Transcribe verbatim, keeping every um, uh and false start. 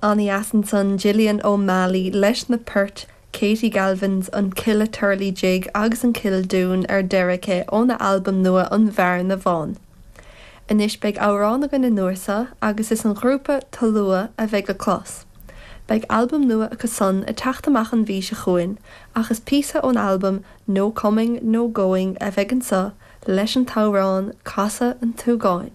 An-dheas ansan Gillian O'Malley leis na poirt Katie Galvin's an Killaturley Jig agus an Kildoon ar deireadh aici óna albam nua an Bhearna Bhán. Anois beidh amhrán againn an uair seo agus is an grúpa Tolua a bheidh le clos. Beidh albam nua acu san ag teacht amach an mhí seo chugainn ach is píosa ón albam No Coming No Going a bheidh anseo leis an t-amhrán Casadh an tSúgáin.